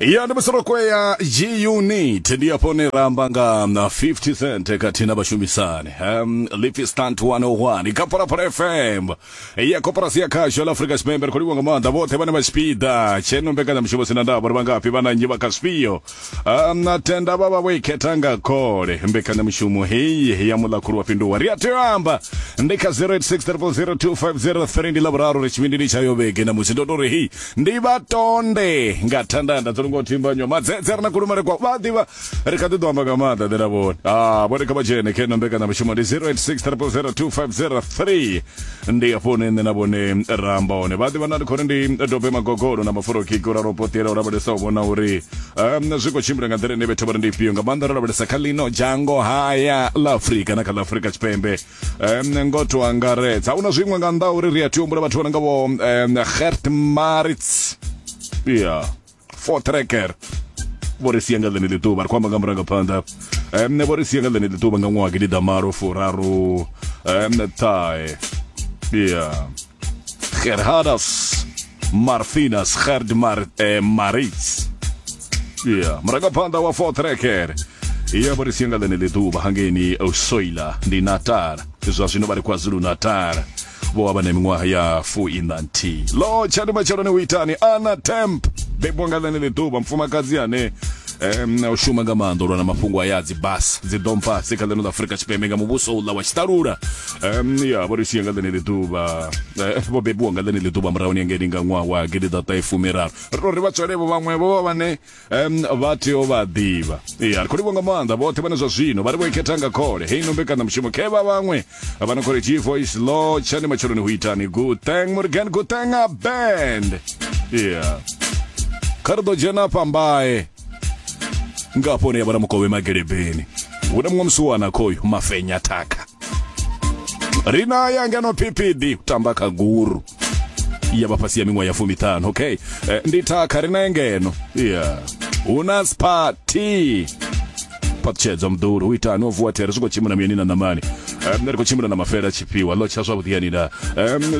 Ya ndi musoroko ya G-Unit ndi afho hune ra amba nga na 50 Cent khathihi na vhashumisani Lifi Stunt 101 kha Phalaphala FM ya koporasi ya khasho la Afrika Tshipembe. Ri khou livhuwa nga maanḓa vhoṱhe vhane vha tshipiḓa tsheno mbekanyamushumo sina ndavha uri vha ngafhi vha na nnyi vha kha zwifhio. Na tenda vha vha vho i khetha nga khole mbekanyamushumo heyi ya muḽakhulu wa fhinduwa. Ri a tea u amba ndi kha 0860002503 ndi ḽavhuraru ri tshivhindini tsha yo vhege na musi ndo tou ri hei ndi vha tonde nga thandanda dzo lungaho thimbanywa madzedze ri na kulumele kwa vha ḓivha ri kha ḓi ḓo amba nga maanḓa ḓe na vhone ah vhone kha vha dzhene kha ino mbekanyamushumo ndi 0860002503 ndi afho hune nṋe na vhone ra amba hone vha ḓivha na ndi khori ndi dobe magogolo na mafurokiki u ralo potela u lavhelesa u vhona uri zwi khou tshimbila nga nḓila ine vhethu vha ri ndi ifhio nga maanḓa ro lavhelesa kha ḽino dzhango haya ḽa afurika na kha ḽa afurika tshipembe. Ngo to angaredza hu na zwiṅwe nga nnḓa uri ri a tea u humbula vhathu vha no nga vho Gert Maritz ya Voortrekker vho ri sia nga ḽeneḽi ḓuvha ri khou amba nga murangaphanḓa vho ri sia nga ḽeneḽi ḓuvha nga ṅwaha gidi ḓamalo furaru ṱhahe ya Gerhardus Marthinus Gerd Maritz ya murangaphanḓa wa Voortrekker ya vho ri sia nga ḽeneḽi ḓuvha hangeini Soila ndi Natal zwa zwino vha ri KwaZulu Natal vho vha vha na miṅwaha ya fuiṋa nthihi lo tsha ndi matsheloni u itani Anna Temp bebwa nga ḽeneḽi ḓuvha mufumakadzi ane u shuma nga maanḓa u lwa na mafhungo aya a dzi bus dzi dompa si kha ḽino ḽa Afrika Tshipembe nga muvhuso uḽa wa tshiṱalula. Ya vho ri sia nga ḽeneḽi ḓuvha, vho bebiwa nga ḽeneḽi ḓuvha murahuni hangeini nga ṅwaha wa gidiḓaṱahe fumiraru. Ri tou ri vha tswelevho vhaṅwe vho vha vhane vha tea u vha ḓivha. Ya ri khou livhuwa nga maanḓa vhoṱhe vhane zwa zwino vha ri vho i khetha nga khole heino mbekanyamushumo khevha vhaṅwe vha no khou ri G Voice lo tshani matsheloni hu itani Guteng Morgan Guteng a band. Ya kha ri ḓo dzhena afha mbae nga hafho hune ya vha na mukovhe magelebeni hu na muṅwe musiwana khoyu mafenya thakha ri na ya ngeno phiphiḓi u tamba kha guru ya vha fhasi ya miṅwaha ya fumiṱhanu okay. Ndi thakha ri na ngeno ya hu na spa t phaṱhutshedzo muḓulu hu itani o vuwa there zwi khou tshimbila muyani na ṋamani. Nṋe ri khou tshimbila na mafela tshifhiwa ḽo tsha zwavhuḓi yani na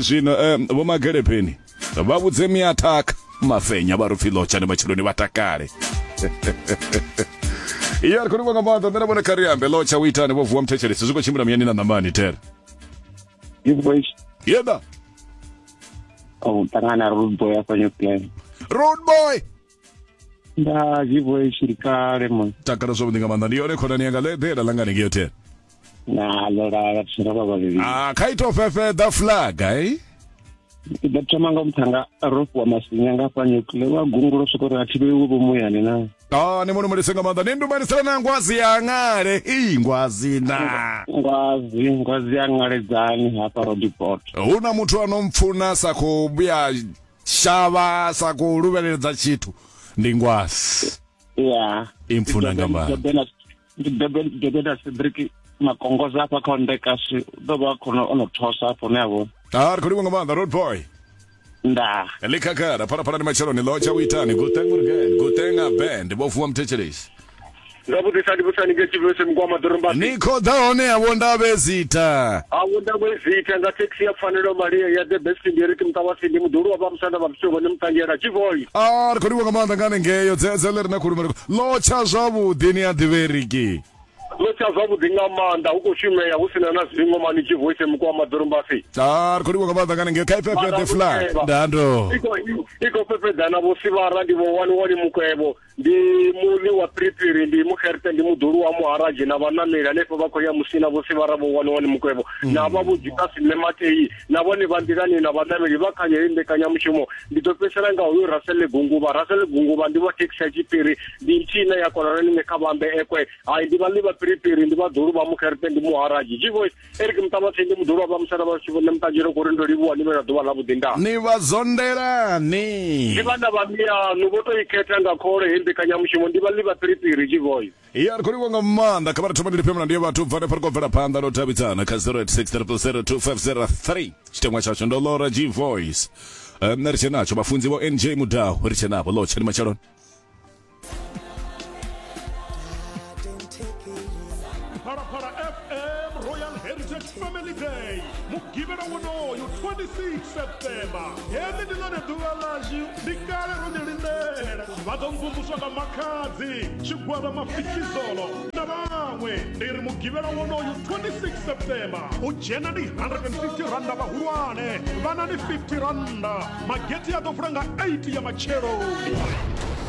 zwino vho magelepeni vha vhudze miathakha mafenya vha ri pfi ḽo tsha ndi matsheloni vha takale. Iya ri khou livhuwa nga maanḓa nṋe na vhone kha ri ambe ḽo tsha u itani vho vuwa muthetshelesi zwi khou tshimbila muyani na ṋamani there. Voice. Yeda. O ṱangana road boy afha New Plan. Road boy. Nda G voice ndi kale mon. Takala zwavhuḓi nga maanḓa ndi yone khonani yanga ḽeḓela ḽa ngani ngeo there. Na ḽo lala tsira vha vhavhili. Ah kha ito fhefheḓa flag eh. Ndi ḓo thoma nga muthanga ro fhiwa masinya nga fha nuclear wa gungulo swika uri a thi vheiwe vho muyani na. Ah ni muno mulise nga maanḓa ni ndumanisela na ngwazi ya ngale i ngwazi na ngwazi ngwazi ya ngaledzani hafha Roodepoort. Hu na muthu ano mpfuna sa khou vhuya shavha sa khou luvheleledza tshithu ndi ngwazi. Ya. I mpfuna nga maanḓa. Ndi Dobela Cedric Makongoza hafha kha Ndekasi u ḓo vha khona ono thosa hafho ne a vhona. Ah ri khou livhuwa nga maanḓa road boy. Nda. Ḽi khagala phalaphala ndi matsheloni ḽo tsha u itani Guteng Morgan Guteng a band vho vuwa muthetshelesi. Zwavhuḓi sa ndi vhusani nge tshivhese mugwama ḓorombasi. Ni khou ḓa hone avho ndavhe zita. Avho ndavhe zita nga taxi ya pfanelo Maria ya the best ndi Eric Mutavhasi ndi muḓulu wa vha musanda vha vhutshilo vhone muṱanzhela Tshivoi. Ah ri khou livhuwa nga maanḓa nga hanengeo dzedze ḽi re na khulumele ḽo tsha zwavhuḓi ni a ḓivha Eriki. Ḽo tsha zwavhuḓi nga maanḓa hu khou shumea hu sina na zwiṅwe mani Tshivoi mugwama ḓorombasi. Ah ri khou livhuwa nga maanḓa nga hanengeo kha ifhefhe the flag ndando. I khou fhefhedzana vho Sivhara ndi vho wani wani mukwevho ndi muḽi wa piripiri ndi muxerte ndi muḓulu wa muharaji na vhanameli hanefho vha khou ya musina vho Sivhara vho wani wani mukwevho na vha vho Judasi Mme Matei na vhone vha nḓilani na vhanameli vha kha heyi mbekanyamushumo. Ndi ḓo fhedzisela nga hoyu Russell Gunguvha. Russell Gunguvha ndi wa thekhisi ya Tshipiri ndi nthihi ine ya konana ni kha vhambe ekwe hai ndi vhaḽi vha piripiri ndi vhaḓulu vha muxerte ndi muharaji G-Voice Eric Mutavhatsindi ndi muḓulu wa vha musanda vha tshivhone muṱanzhelo kori ndo livhuwa ni vhe na ḓuvha ḽa vhuḓi nda. Ni vha zondelani. Ndi vhana vha mianu vho to i khetha nga khole heyi mbekanyamushumo ndi vhaḽi vha piripiri G-Voice. Ya ri khou livhuwa nga maanḓa kha vha ri thoma ndi lifhe mulandu ya vhathu bva hanefha ri khou bvela phanḓa no davhidzana kha 086 0002503 tshiteṅwa tshashu ndo Laura G Voice. Nṋe ri tshe natsho vhafunzi vho NJ Mudau ri tshe navho ḽo tsheni matsheloni. Phalaphala FM Royal Heritage Family Day mugivhela wonoyu 26 September. Heḽi ndi ḽone ḓuvha ḽashu, ndi kale ro ḽi lindela. Vha ḓo mvumvuswa nga Makhadzi, tshigwada Mafikizolo na vhaṅwe. Ndi ri Mugivhela wonoyu 26 September u dzhena ndi 150 rannda vhahulwane, vhana ndi 50 rannda. Magethe a ḓo vula nga 8 ya matsheloni.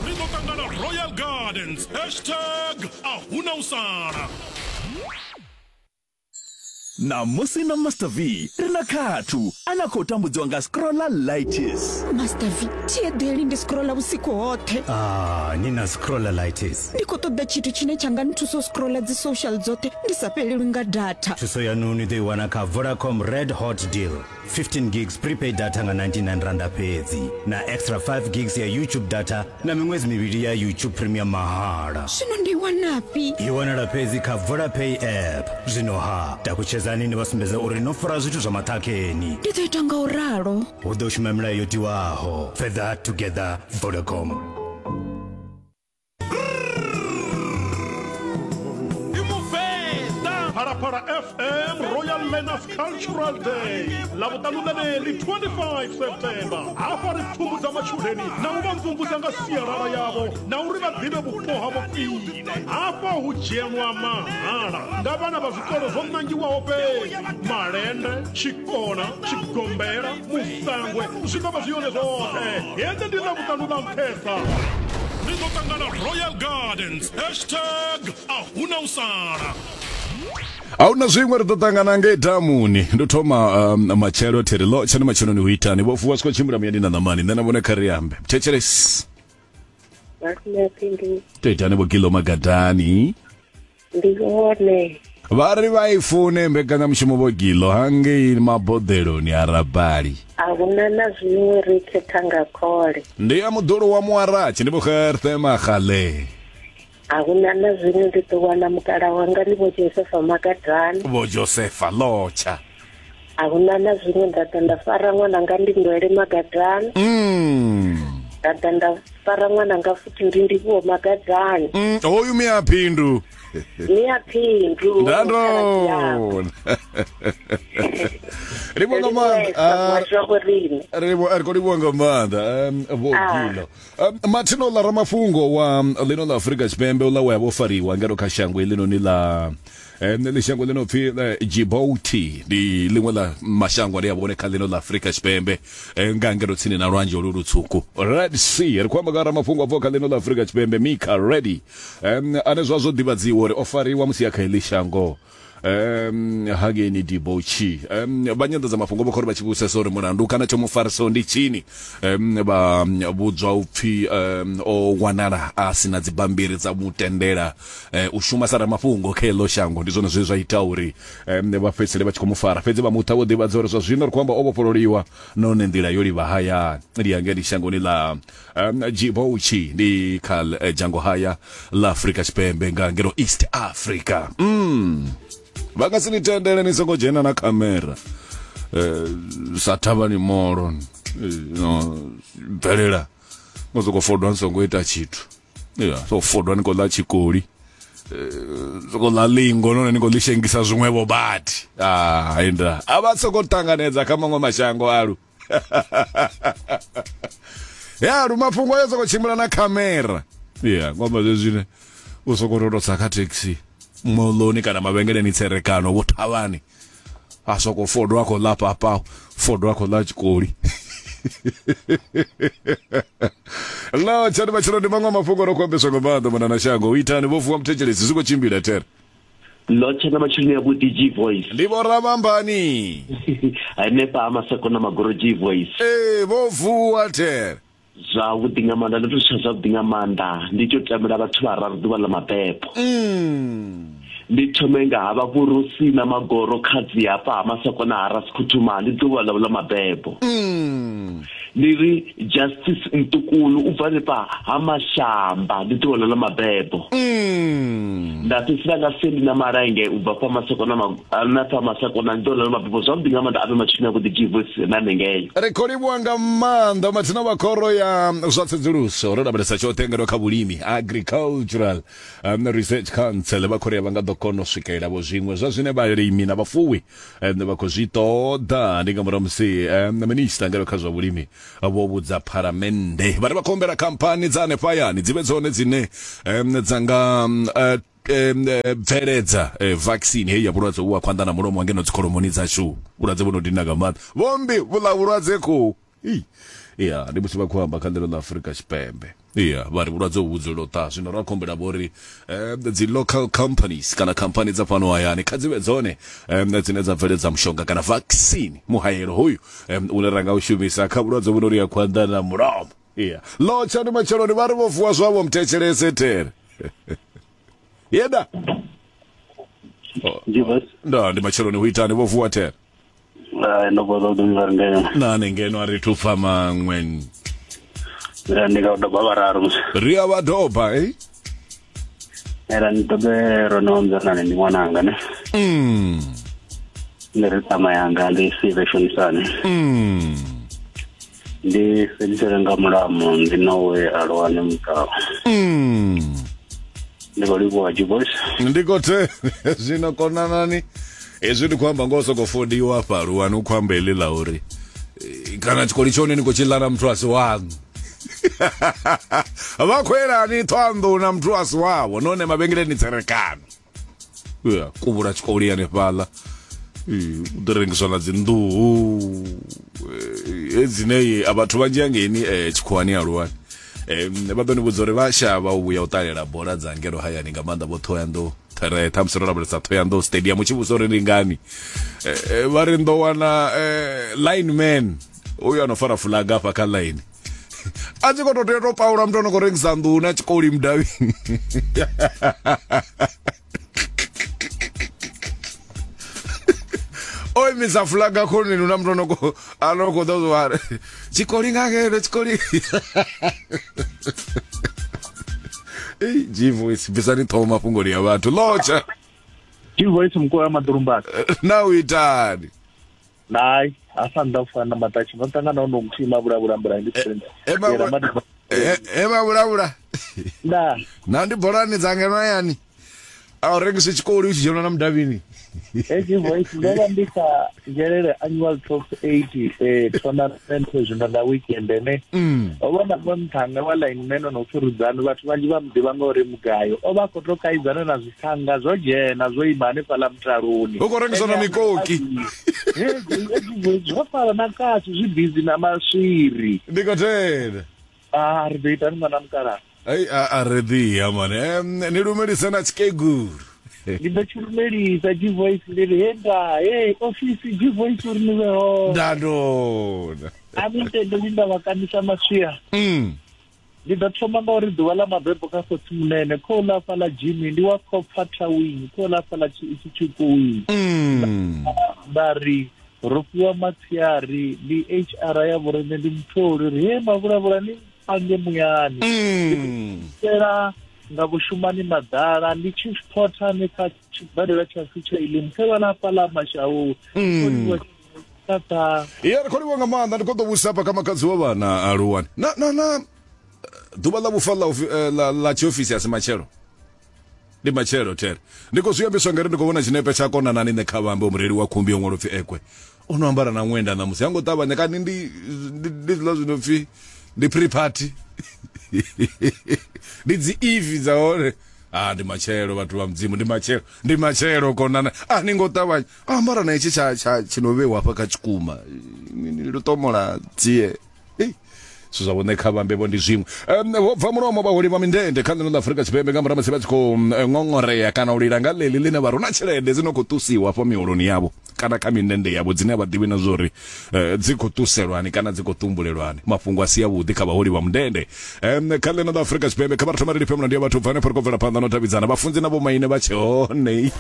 Ri ḓo ṱangana Royal Gardens hashtag a huna u sala. Ṋamusi na Master V ri na Khathu ane a khou tambudziwa nga scrollalitis. Master V, thi eḓeli ndi scrolla vhusiku hoṱhe. Ah, ni na scrollalitis. Ndi khou ṱoḓa tshithu tshine tsha nga nthusa u scrolla dzi social dzoṱhe ndi sa fhelelwi nga data. Thuso yanu ni ḓo i wana kha Vodacom Red Hot Deal. 15 gigs prepaid data nga 99 randa fhedzi na extra 5 gigs ya YouTube data na miṅwedzi mivhili ya YouTube Premium mahala. Zwino ndi i wanafhi? I wanala fhedzi kha Vodapay app. Zwino ha, takutshedzani ni vha sumbedze uri no fara zwithu zwa maṱhakheni. Ndi ḓo ita nga u ralo. Hu ḓo shuma milayo yo tiwaho. Further together, Vodacom. Ndi Muvenḓa. Phalaphala FM Royal Learners Cultural Day Ḽavhuṱanu ḽeneḽi 25 September. Hafha ri pfumbudza matshudeni na u vha mvumvusa nga sialala yavho na uri vha ḓivhe vhupo havho khwine. Hafha hu dzhenwa mahala nga vhana vha zwikolo zwo ṋangiwaho fhedzi, Malende, Tshikona, Tshigombela, Musangwe zwi ḓo vha zwi hone zwoṱhe. Heḽi ndi Ḽavhuṱanu ḽa nṱhesa. Ri ḓo ṱangana Royal Gardens hashtag a huna u sala. A huna zwiṅwe ri ḓo ṱangana ngei damuni ndo thoma um, matshelo thiri ḽo tshani matsheloni hu itani vho fuwa zwi khou tshimbila muyani na ṋamani nṋe na vhone kha ri ambe thetshelesi to itani vho gilo magadani Ndi hone. Vha ri vha i fune mbekanyamushumo vho Gilo hangei maboḓeloni a Rabali. A huna na zwiṅwe ri khetha nga khole. Ndi ya muḓulu wa Muaratshi ndi Vho Gerthe Magale. A huna na zwiṅwe ndi ḓo wana mukala wanga ndi Vho Josefa Makadani. Vho Josefa Lotsha. A huna na zwiṅwe nda ḓa nda fara ṅwananga ndi Ndwele Magadani. Mm. Nda ḓa nda fara ṅwananga futhi ndi Ndivhuwo Magadani. Mm, hoyu miaphindu. Miaphindu. Ndandona. Ri vho nga maanḓa. Ri vho ri khou livhuwa nga maanḓa vho Gilo. Mathina uḽa ramafhungo wa ḽino ḽa Afrika Tshipembe uḽa we a vho fariwa ngeno kha shango heḽinoni ḽa ḽi shango ḽi no pfi Djibouti ndi ḽiṅwe ḽa mashango ane a vhone kha ḽino ḽa Afrika Tshipembe nga ngeno tsini na lwanzhe olu lutswuku Red Sea. Ri khou amba nga ramafhungo a bvaho kha ḽino ḽa Afrika Tshipembe Mika Reddy ane zwa zwo ḓivhadziwa uri o fariwa musi a kha heḽi shango um hangeini Djibouti. Vha nyanḓadzamafhungo vho khou ri vha tshi vhudzisesa uri mulandu kana tsho mu farisaho ndi tshini, um vha vhudzwa upfi um o wanala a sina dzibammbiri dza mu tendela u shuma sa ramafhungo kha heḽo shango. Ndi zwone zwe zwa ita uri vha fhedzisele vha tshi khou mu fara, fhedzi vha muṱa vho ḓivhadza uri zwa zwino ri khou amba o vhofhololiwa nahone nḓila yo livha hayani ndi ya ngei shangoni ḽa Djibouti, ndi kha dzhango haya ḽa Afrika Tshipembe nga ngeno East Africa. Vha nga si ni tendele ni songo dzhena na khamera sa thavhani molo no bvelela ngo soko fodwa ni songo ita tshithu. Ya, so fodwa ni khou ḽa tshikoli. Soko ḽa lingo nahone ni khou ḽi shengisa zwiṅwevho badi. Ah, inda. A vha soko ṱanganedza kha maṅwe mashango alu. Ya, lu mafhungo ayo soko tshimbila na khamera. Ya, ngomba zwezwine u soko to tsa kha taxi moḽoni kana mavhengeleni tserekano vho thavhani. A soko fodwa a khou ḽa papa, fodwa a khou ḽa tshikoli. Lo tshani matshelo ndi maṅwe mafhungo ro khou ambeswa nga maanḓa mona na shango. U itani vho fuwa muthetshelesi zwi khou tshimbila there. Lo tshana matshelo ya vhuḓi G voice. Ndi vho Ramambani. Hanefha ha Maseko na Magoro G voice. Ee vho vuwa there. Zwavhuḓi nga maanḓa ndo to tsha zwavhuḓi nga maanḓa ndi to tamela vhathu vhararu ḓuvha ḽa mabebo. Ndi thome nga havha vhurusi na Magoro khadzi hafha ha Masakona ha Rasikhuthuma ndi ḓuvha ḽavho ḽa mabebo. Ndi ri Justice Ntukulu u bva hanefha ha Mashamba ndi ḓuvha ḽa ḽa mabebo. Nda fhedzisela nga Sendi na Malenge u bva fha Masakona na fha Masakona ndi ḓuvha ḽa ḽa mabebo zwavhuḓi nga maanḓa avhe matshini avhuḓi G-Voice na hanengei. Ri khou livhuwa nga maanḓa mathina vha khoro ya zwa tsedzuluso ro lavhelesa tshoṱhe ngeno kha vhulimi Agricultural um, Research Council vha khou ri vha nga ḓo kona u swikelela vho zwiṅwe zwa zwine vhalimi na vhafuwi um, vha khou zwi ṱoḓa. Ndi nga murahu musi um, minista ngeno kha zwa vhulimi Vho vhudza phalamennde vha ri vha khou humbela khamphani dza hanefha hayani dzi vhe dzone dzine dza nga bveledza vaccine heyi ya vhulwadze uvhu ha khwanḓa na mulomo ngeno dzikholomoni dzashu. Vhulwadze vhu no dina nga maanḓa vhombi vhuḽa vhulwadze khou ya ndi musi vha khou amba kha ḽino ḽa Afrika Tshipembe. Ya vha ri vhulwadze uvhu dzulela u ṱaha, zwino ra khou humbela vho ri dzi local companies kana khamphani dza fhano hayani kha dzi vhe dzone dzine dza bveledza mushonga kana vaccine muhaelo hoyu une ra nga u shumisa kha vhulwadze vhu no ri ya khwanḓa na mulomo. Ya lotsha ndi matsheloni vha ri vho vuwa zwavho muthetshelese there yeda nda ndi matsheloni hu itani vho vuwa there. Hai, ndo vuwa zwavhuḓi nga ri ngeno. Na ni ngeno a ri thu pfa maṅwe. Ndi nga u doba vhararu musi. Ri a vha doba, eh? Era ni dobe ro no nzanani ndi ṅwananga ne. Ndi ri ṱama yanga ndi sive shonisani. Ndi fhedzisele nga mulamu ndi nowe alwane mutao. Ndi khou livhuwa G-Boys. Ndi khou the zwino konanani hezwi ndi khou amba ngo sokou fodiwa hafha luwani u khou amba heḽi ḽa uri kana tshikoli tshone ni khou tshi ḽa na muthu a si waṋu. Vha khou elani ṱhoanḓou na muthu a si wavho nahone mavhengeleni tserekano. Ya kuvhula tshikoli hanefhaḽa u ḓo rengiswa na dzi nḓuhu hedzinei a vhathu vhanzhi hangeini tshikhuwani aluwani. Vha ḓo ni vhudza uri vha shavha u vhuya u ṱalela bola dza ngeno hayani nga maanḓa vho Thohoyandou ṱhere ṱhamusi ro lavhelesa Thohoyandou stadium u tshi vhudzisa uri ndi ngani vha ri ndo wana lineman uyu ano fara fulaga hafha kha line a tshi khou tou tea u tou paula muthu ano khou rengisa nḓuhu na tshikoli mudavhini. O imisa fulaga khoneni na muthu ano khou ḓo zwa tshikoli nga ngeno tshikoli. Ei, G-Voice bvisani ṱhoho mafhungoni ya vhathu lotsha. G-Voice mukolo wa maḓulumbani. Na u itani? Nai, hafha nnḓa u fana na maṱatshi ndo ṱangana no muthihi mavhulavhula mbula ndi friends. E mavhulavhula. Nda. Na ndi bolani dza ngeno hayani. A u rengisi tshikoli u tshi dzhena na mudavhini. Hedzi voice ndo vha ndi kha Nzhelele annual top 8 tournament zwino nga weekend ene. Ho vha na muṅwe muṱhannga wa lineman o no pfi Rudzani vhathu vhanzhi vha mu ḓivha ngauri mugayo. O vha a khou tou kaidzana na zwithanga zwo dzhena zwo ima hanefhaḽa mutaloni. Hu khou rengiswa na mikoki. Zwo fara na katsi zwi bizi na maswiri. Ndi khou tenda. Ah, ri ḓo itani ṅwana mukalaha? Ai a ri ḓiya mane. Ni lumelise na tshikegulu. Ndi ḓo tshi lumelisa G-Voice ndi ri he nda he ofisi G-Voice uri ni vhe hone. Nda ndona. A ni ntendeli nda vha kandisa maswia. Ndi ḓo thoma nga uri ḓuvha ḽa mabebo kha khotsi munene khou ḽa fhaḽa Jimmy ndi wa Copper Tawini khou ḽa fhaḽa Tshikuwini. Nda ri ro fhiwa matsiari ndi HR ya vhorine ndi mutholi ri he mavhulavhula ni pange muyani. Ndi nga vhushumani maḓala ndi chief porter ni kha tshibadela tshashu tsha Elim khe vha ḽa fhaḽa Mashau. Tata. Ya ri khou livhuwa nga maanḓa ndi khou ḓo vhusa hafha kha makhadzi wa vhana aluwani. Na na na ḓuvha ḽa vhufa ḽa ḽa tshiofisi a si matshelo. Ndi matshelo there. Ndi khou zwi ambiswa ngari ndi khou vhona tshinepe tsha konanani nṋe kha vhambe mureili wa khumbi yo ṅwalwa upfi ekwe. O no ambara na ṅwenda ṋamusi ha ngo ṱavhanya kani ndi ndi zwiḽa zwi no pfi ndi pre party. Ndi dzi eve dza hone. Ah ndi matshelo vhathu vha mudzimu ndi matshelo ndi matshelo konana a ni ngo ṱavhanya ambara na itshi tsha tsha tshino vhewa hafha kha tshikuma lutomola tsie. Zwithu zwa vhone kha vhambe vho ndi zwiṅwe. Vho bva mulomo vhaholi vha mindende kha ḽino ḽa Afrika Tshipembe nga murahu musi vha tshi khou ṅoṅorea kana u lila nga ḽeḽi ḽine vha ri hu na tshelede dzi no khou ṱusiwa hafho miholoni yavho kana kha mindende yavho dzine a vha ḓivhi na zwa uri dzi khou ṱuselwani kana dzi khou ṱumbulelwani. Mafhungo a si avhuḓi kha vhaholi vha mundende kha ḽino ḽa Afrika Tshipembe. Kha vha ri thoma ri lifhe mulandu ya vhathu bva hanefho ri khou bvela phanḓa na u davhidzana vhafunzi na vhomaine vha tshe hone.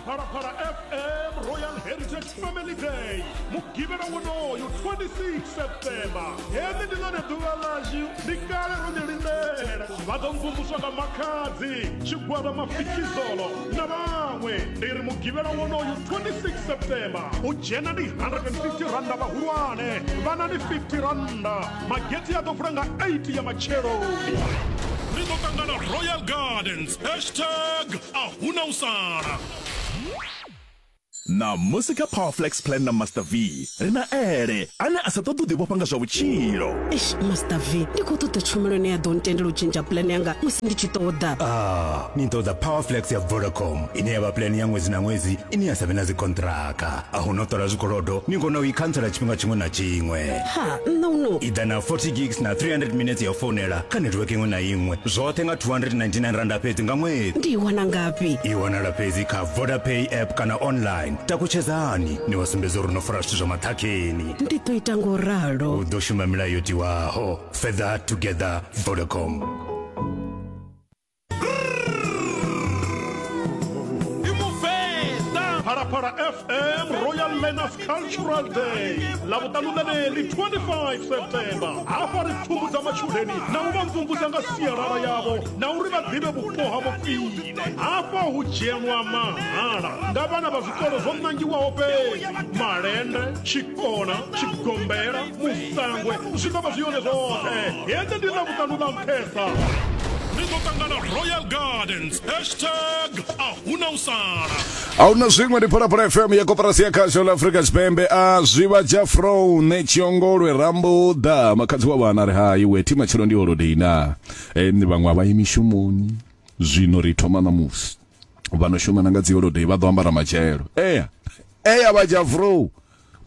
Phalaphala FM Royal Heritage Family Day mugivhela wonoyu 26 September. Heḽi ndi ḽone ḓuvha ḽashu, ndi kale ro ḽi lindela. Vha ḓo mvumvuswa nga Makhadzi, tshigwada Mafikizolo na vhaṅwe. Ndi ri mugivhela wonoyu 26 September u dzhena ndi 150 randa vhahulwane, vhana ndi 50 randa. Magethe a ḓo vula nga 8 ya matsheloni. Ri ḓo ṱangana Royal Gardens. Hashtag a huna u sala. Ṋamusi kha Powerflex Plan na Master V, ri na Ele, ane a sa ṱoḓe u ḓivhofha nga zwa vhutshilo. Eish, Master V, ndi khou ṱoḓa tshumelo ine ya ḓo ntendela u tshintsha pulane yanga musi ndi tshi ṱoḓa. Ah, ni ṱoḓa Powerflex ya Vodacom, ine ya vha pulane ya ṅwedzi na ṅwedzi ine ya sa vhe na dzikonṱiraka. A hu na u ṱola zwikolodo, ni kona u i khantsela tshifhinga tshiṅwe na tshiṅwe. Ha, nṋe uno. I ḓa na 40 gigs na 300 minutes ya u founela kha netiweke iṅwe na iṅwe, zwoṱhe nga R299 fhedzi nga ṅwedzi. Ndi i wana ngafhi? I wanala fhedzi kha Vodapay app kana online. Takutshedzani ni vha sumbedza uri no fara zwithu zwa maṱhakheni. Ndi ḓo ita ngo ralo. U ḓo shuma milayo yo tiwaho. Further together, Vodacom. Phalaphala FM Royal Learners Cultural Day ḽavhuṱanu ḽeneḽi 25 September hafha ri pfumbudza matshudeni na u vha mvumvusa nga sialala yavho na uri vha ḓivhe vhupo havho khwine hafha hu dzhenwa mahala nga vhana vha zwikolo zwo ṋangiwaho fhedzi malende tshikona tshigombela musangwe zwi ḓo vha zwi yone zwoṱhe heḽi ndi ḽavhuṱanu ḽa nṱhesa ri ḓo ṱangana royal gardens hashtag a huna u sala A huna zwiṅwe ndi Phalaphala FM ya koporasi ya khasho ḽa Afrika Tshipembe a zwivha Jafro ne Tshiongolwe Rambuḓa makhadzi wa vhana ri hai we thi matshelo ndi holiday na e, vhaṅwe a vha yi mishumoni zwino ri thoma ṋamusi vha no shuma na nga dzi holiday vha ḓo ambara matshelo ea ea vha Jafro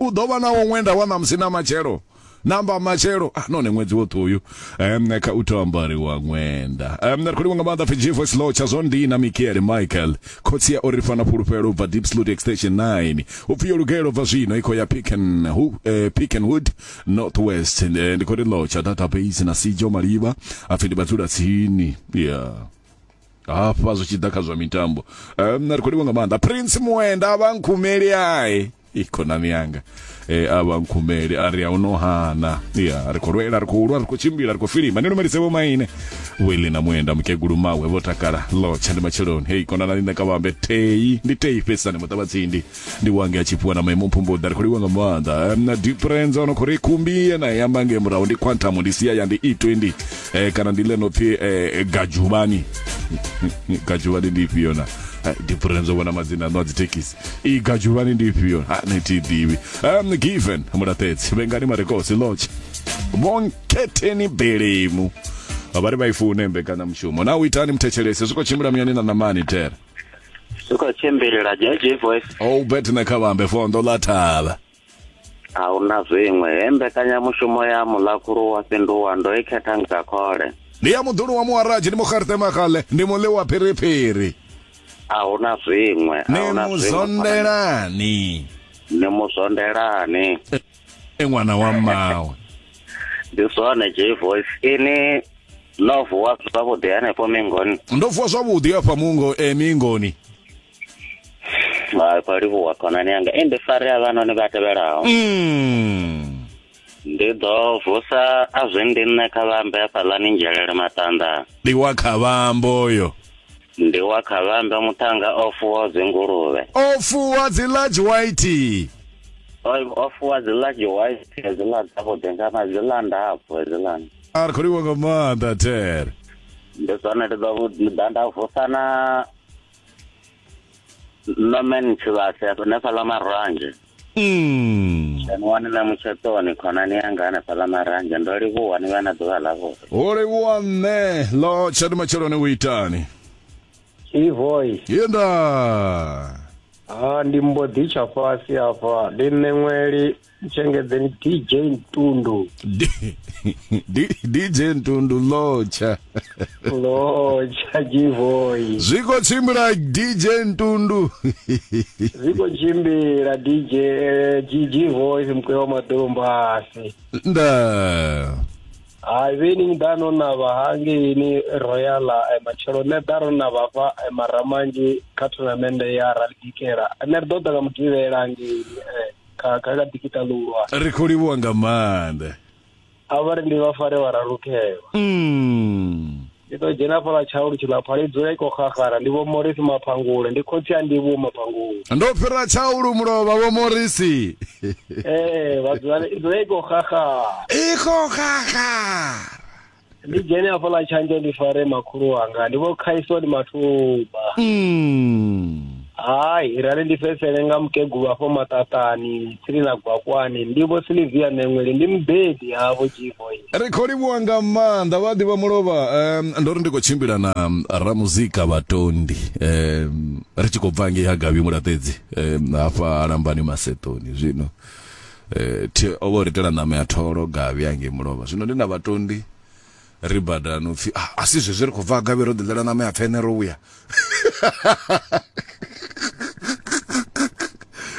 U ḓo vha na wo ṅwenda wa ṋamusi na matshelo namba matshelo ah, none ṅwedzi woṱhe uyu um, kha u tou ambariwa ṅwenda um, ri khou livha nga maanḓa pfi G Voice Law tsha zwo ndi na Mikiele Michael khotsi ya ori fana fhulufhelo ubva Deep Sloot Extension 9 upfi yo lugela ubva zwino i khou ya Picken, hu, eh, Pickenwood North West eh, ndi khou ri Lotsha database na Sijo Malivha apfi ndi vhadzula tsini yeah hafha zwi tshi ḓa kha zwa mitambo um, ri khou livha nga maanḓa Prince Muenda vha nkhumeli ai i khonani yanga e, a vha nkhumeli a ri a uno hana ya ri khou lwela ri khou lwa ri khou tshimbila ri khou filima ni lumelise vho maine wili na muenda mukegulu mawe vho takala lotsha ndi matsheloni hei konanani nṋe ka vhambe tei ndi tei fhedzisani muṱavhatsindi ndi wange a tshifhiwa na maimo mphumbuḓa ri khou livha nga maanḓa na difference ono khou ri khumbi ye na i amba ngei murahu ndi quantum ndi sia ya ndi e20 eh, kana ndi ḽeno pfi eh, gajuvani gajuvani ndi ifhio na difference vhona madzina aṋu a dzithekhisi i gajuvani ndi ifhio ha ni thi ḓivhi um, given mulaṱedzi vhengani marekosi lodge vhonkhetheni belemu vha ri vha i fune mbekanyamushumo na u itani muthetshelesi zwi khou tshimbila muyani na ṋamani tere zwi khou tshimbila JJ Voice o bet na kha vhambe fondo ḽa thavha a hu na zwiṅwe he mbekanyamushumo ya mulakhulu wa fhinduwa ndo i khetha nga khole ndi ya muḓulu wa muharadzi ndi muxarte maxale ndi muḽi wa phiriphiri a hu na zwiṅwe a ni hu na zwiṅwe muzondelani ni muzondelani e ṅwana wa mmawe ndi zwone J Voice ini no vuwa zwavhuḓi hanefho mingoni ndo vuwa zwavhuḓi afha mungo e mingoni hai khou livhuwa khonani yanga i ndi fare havhanoni vha tevhelaho mm. Ndi ḓo vusa a zwi ndi nṋe kha vhambe hafhaḽani nzhelele maṱanḓa. Ndi wa kha vhambo yo. Ndi wa kha vhambe muṱhannga o fuwa dzinguluvhe. O fuwa dzi large white. O, o fuwa dzi large white hedziḽa dzavhuḓi nga ma dziḽa ndapfu hedziḽani. A ri khou livhuwa nga maanḓa there. Ndi zwone ndi ḓo ḓa nda vusa na Norman Tshivhase hanefhaḽa Maranzhe. Mm. Wani na mutsheṱoni khonani yanga hanefhaḽa Maranzhe ndo livhuwa ni vhe na ḓuvha ḽavhuḓi. Ho livhuwa nṋe ḽo tsha ndi matsheloni u itani. Ivoy. Yenda. Ha ndi mbo ḓi tsha fhasi hafha ndi nṋe ṅweli Ntshengedzeni DJ Ntundu. DJ Ntundu lotsha. Lotsha G-Boy. Zwi khou tshimbila DJ Ntundu. Zwi khou tshimbila DJ G-Boy mukwe wa maḓumbasi. Nda. Hai vheni ḓa no navha hangeini Royal matshelo nṋe ḓa ro navha hafha Maramanzhi kha thonamennde ya Rally Dikela. Nṋe ri ḓo ḓa nga mugivhela hangeini. Kha kha kha ḓikita ḽihulwane. Ri khou livhuwa nga maanḓa. A vha ri ndi vha fare vha ralukhelwa. Mm. Ndi ḓo dzhena fhaḽa tshaulu tshiḽa phali dzula i khou xaxara ndi vho Morisi Maphangule ndi khotsi a Ndivhuwo Maphangule. Ndo fhira tshaulu mulovha vho Morisi. Ee vha dzula i dzula i khou xaxara. I khou xaxara. Ndi dzhene hafhaḽa tshanzhe ndi fare makhulu wanga ndi vho Khaisoni Mathuba. Mm. Hai, rali ndi fhedzisele nga mukegulu afho maṱaṱani tsini na Gwakwani, ndi vho Silivia Ṋeṅweli, ndi mubebi havho G-boy. Ri khou livhuwa nga maanḓa vha ḓivha mulovha um, ndo ri ndi khou tshimbila na ramuzika vhatondi um, ri tshi khou bva ngei ha Gavhi Mulaṱedzi um, hafha Lambani Maseṱoni zwino eh, thi o vha o ri itela ṋama ya tholo Gavhi hangei mulovha zwino ndi na vhatondi ri badani upfi ah, a si zwezwi ri khou bva ha Gavhi ro ḓi ḽela ṋama ya pfene ro vhuya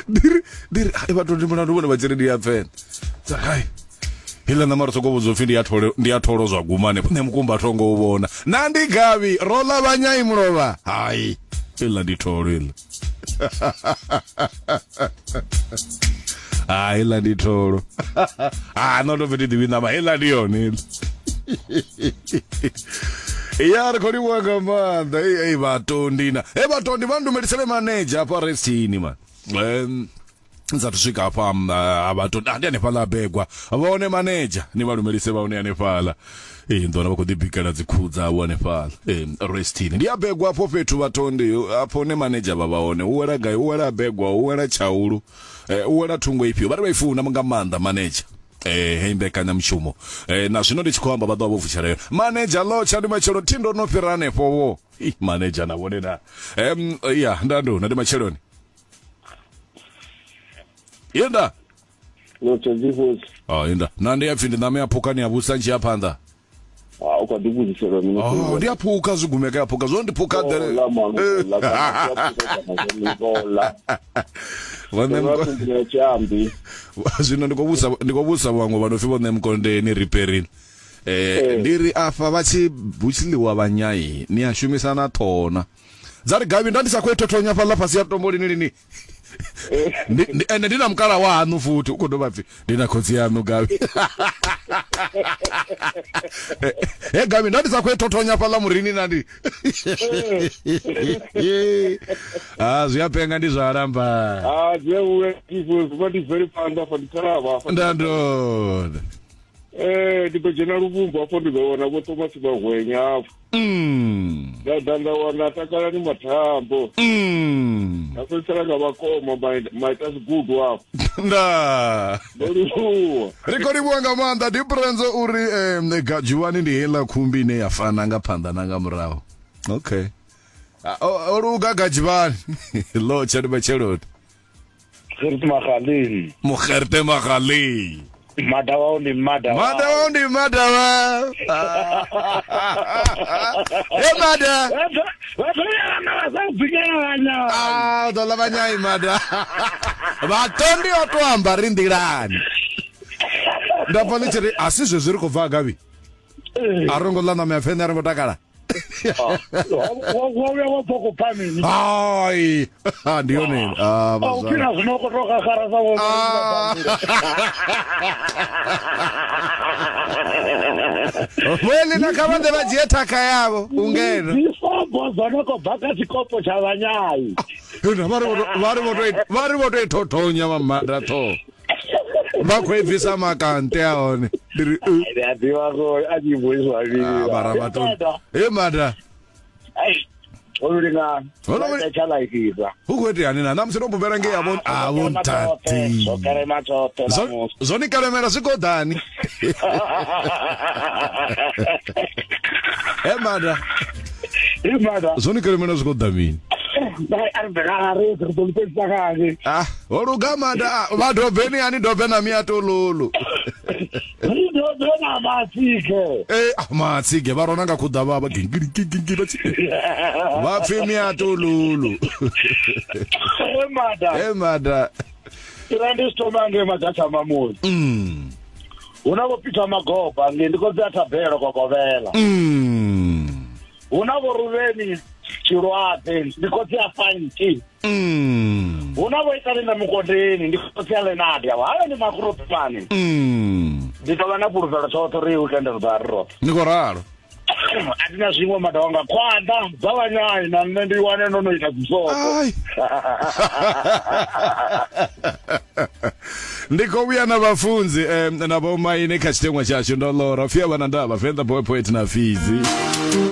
ndiri ndiri hai vhathu ndi mulandu vhone vha tshi ri ndi ya pfene dza hai heiḽa ṋama ri soko vhudzwa upfi ndi ya tholo ndi ya tholo zwa guma hanefho nṋe mukumba thongo u vhona na ndi gavhi ro ḽa vhanyai mulovha hai iḽa ndi tholo iḽa ha heiḽa ndi tholo ha no to pfi ndi ḓivhi ṋama heiḽa ndi yone iḽa ya ri khou livhuwa nga maanḓa ei ei vhatondi na he vhatondi vha ndumelisele manedzha hafha restini man um sathu swika hafha ha vhatondi ndi hanefhaḽa begwa vhone manedzha ni vha lumelise vha hone hanefhaḽa ee nḓona vha khou ḓi bikela dzikhuhu dzavho hanefhaḽa ee restini ndi a begwa afho fhethu vhatondi afho hune manedzha vha vha hone u wela gai u wela begwa u wela tshaulu u wela thungo ifhio vha ri vha i funa nga maanḓa manedzha eh hei mbekanyamushumo eh na zwino ndi tshi khou amba vha ḓo vha vho vutshela yone manedzha lotsha ndi matshelo thi ndo no fhira hanefho vho Ih, manedzha na vhone na em ya nda ndo na ndi matsheloni yenda Lotsha G-Force. oh yenda na ndi ya pfi ndi ṋama ya phuka ni ya vhusa ntshi ya phanḓa Ah, u kha ḓi vhudziselwa mini? Oh, ndi a phuka zwi gumeka ya phuka zwo ndi phuka ḓele. Ola, man, ola, kana ndi a phuka kana zwo ndi ola. Vhone Ndo mko- vha tshiambi. Zwino ndi khou vhusa ndi khou vhusa vhaṅwe vha no pfi vho nṋe mukondeni riperini. Eh ndi ri afha vha tshi hu tshi ḽiwa vhanyai ni a shumisa na ṱhona. Dza ri gavhi nda ndi sa khou i thothonya fhaḽa fhasi ya tombo lini lini. Ndi ndi ende ndi na mukala wa haṋu futhi u khou dovha pfi ndi na khotsi yaṋu gavhi. He gavhi nda ndi sa khou i thothonya fhaḽa murini na ndi. Ah zwi a penga ndi zwa lamba. Ah, zwi a vhuya G-Force, vha ndi bvele phanḓa afha ndi khalavha afha. Nda ndona. Eh, ndi ḓo dzhena luvhumbu afho ndi ḓo wana vho Thomas Magwenya afho. Nda ḓa nda wana Takalani Mathambo. Nda fhedzisela nga vhakoma maita zwigudu afho. Nda. Ndo livhuwa. Ri khou livhuwa nga maanḓa Diprenzo uri gadzhuwani ndi heiḽa khumbi ine ya fana nga phanḓa na nga murahu. Okay. O luga gadzhivhani. Lo tsha ndi matsheloni. Gert Magaleng. Mugerte Magaleng. Madawao ndi Madawao. Madawao ndi Madawao. He Mada. Ah, ḓo ḽa vhanyai Mada. Vhatondi o to amba ri nḓilani. Nda pfa ḽi tshi ri a si zwezwi ri khou bva gavhi. A ro ngo ḽa ṋama ya pfeṋe a ro ngo takala. Wa vhuya wa bva khou pfa mini? Hai. Ndi yone. Ah, A u fhira zwino u khou tou xaxara sa vho. Vheli na kha vha ḓe vha dzhie thakha yavho u ngeno. Dzifobo dzo no khou bva kha tshikopo tsha vhanyai. Huna vha ri vho to- vha ri vho to vha ri vho to i thothonya vha mada ṱhoho. Vha khou i bvisa makante a hone. Ndi ri Ndi a ḓivha ko a tshi vhuiswa vhili. Ah, mara vha to. He mada. Ai. Ho lingana. Ho lu- Tsha laifisa. Hu khou itea hani na ṋamusi ndo bubela ngei avho avho ntati. Zwo kelema tshoṱhe Zwo ṋamusi. zwo ni kalemela zwi khou ḓani. He mada. He mada. Zwo ni kalemela zwi khou ḓa mini? Ai, a ri bvela ri ri ḓo fhedzisa kale. Ah, ho luga mada. Ah, Vha dobeni ani dobe na miatololo. Ri dobe na matsike. Eh, ah, matsige vha rona nga khuḓa vha vha gingili gingili vha tshi. Vha pfi miatololo. He mada. He mada. Ira ndi thoma ngei Magatsha Mamoni. Hu na vho Peter Magoba ngei ndi khou dzea thabelo kokovhela. Hu na vho Ruveni Tshilwadze ndi khotsi a Fanki. Hu na vho Itali na Mukondeni ndi khotsi a Lenadi avho. Havha ndi makuropani. Ndi tou vha na fhulufhelo tshoṱhe uri weekend ri ḓo vha ri roṱhe. Ni khou ralo. A thi na zwiṅwe mada wanga khwaḓa dza vhanyai na nṋe ndi wane ndo no ita dzisobo. Ndi khou vhuya na vhafunzi na vhomaine kha tshiteṅwa tshashu ndo lora pfi a vha na ndavha Venḓa boy poet na Fidzi.